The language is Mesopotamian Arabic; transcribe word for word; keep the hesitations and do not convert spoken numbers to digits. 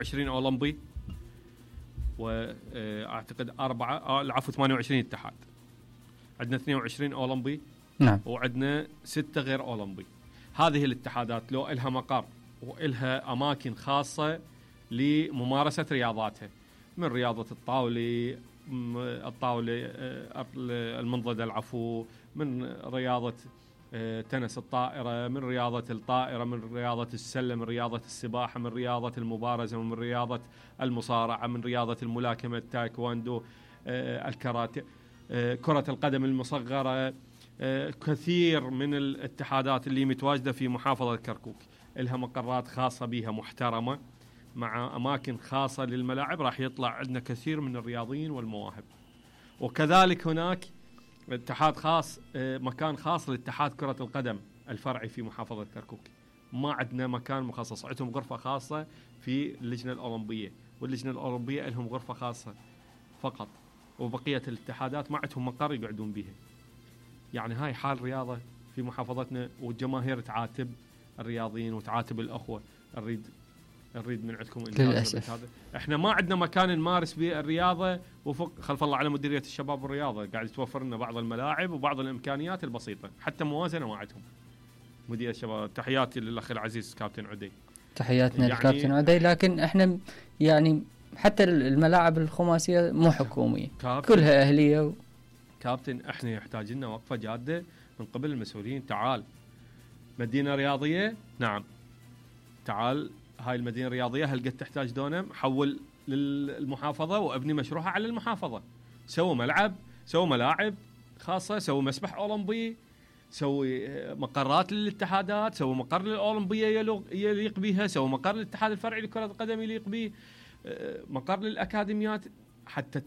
عشرين اولمبي، واعتقد اربعه آه العفو ثمانية وعشرين اتحاد. عندنا اثنين وعشرين اولمبي، نعم، وعندنا ستة غير اولمبي. هذه الاتحادات لو إلها مقر وإلها اماكن خاصه لممارسه رياضاتها، من رياضه الطاوله الطاوله المنضده العفو، من رياضه تنس الطائرة، من رياضة الطائرة، من رياضة السلة، من رياضة السباحة، من رياضة المبارزة، ومن رياضة المصارعة، من رياضة الملاكمة، التايكواندو، الكاراتيه، كرة القدم المصغرة. كثير من الاتحادات اللي متواجدة في محافظة كركوك لها مقرات خاصة بها محترمة، مع أماكن خاصة للملاعب. راح يطلع عندنا كثير من الرياضيين والمواهب. وكذلك هناك اتحاد خاص، مكان خاص لاتحاد كرة القدم الفرعي في محافظة كركوك. ما عندنا مكان مخصص، عندهم غرفة خاصة في اللجنة الأولمبية، واللجنة الأولمبية لهم غرفة خاصة فقط، وبقية الاتحادات ما عندهم مقر يقعدون بها. يعني هاي حال رياضة في محافظتنا، والجماهير تعاتب الرياضيين وتعاتب الأخوة. نريد نريد من عندكم للأسف هذا. احنا ما عندنا مكان نمارس به الرياضة، وفق خلف الله على مديرية الشباب والرياضة قاعد توفر لنا بعض الملاعب وبعض الإمكانيات البسيطة، حتى موازنة ما عندهم. مديرية الشباب، تحياتي للأخ العزيز كابتن عدي. تحياتنا يعني للكابتن عدي. لكن احنا يعني حتى الملاعب الخماسية مو حكومية، كلها أهلية و... كابتن احنا يحتاج لنا وقفة جادة من قبل المسؤولين. تعال مدينة رياضية، نعم تعال هاي المدينة الرياضية هل قد تحتاج دونم؟ حول للمحافظة وابني مشروعها على المحافظة. سووا ملعب، سووا ملاعب خاصة، سووا مسبح أولمبي، سووا مقرات للاتحادات، سووا مقر للأولمبية يليق بها، سووا مقر للاتحاد الفرعي لكرة القدم يليق به، مقر للأكاديميات، حتى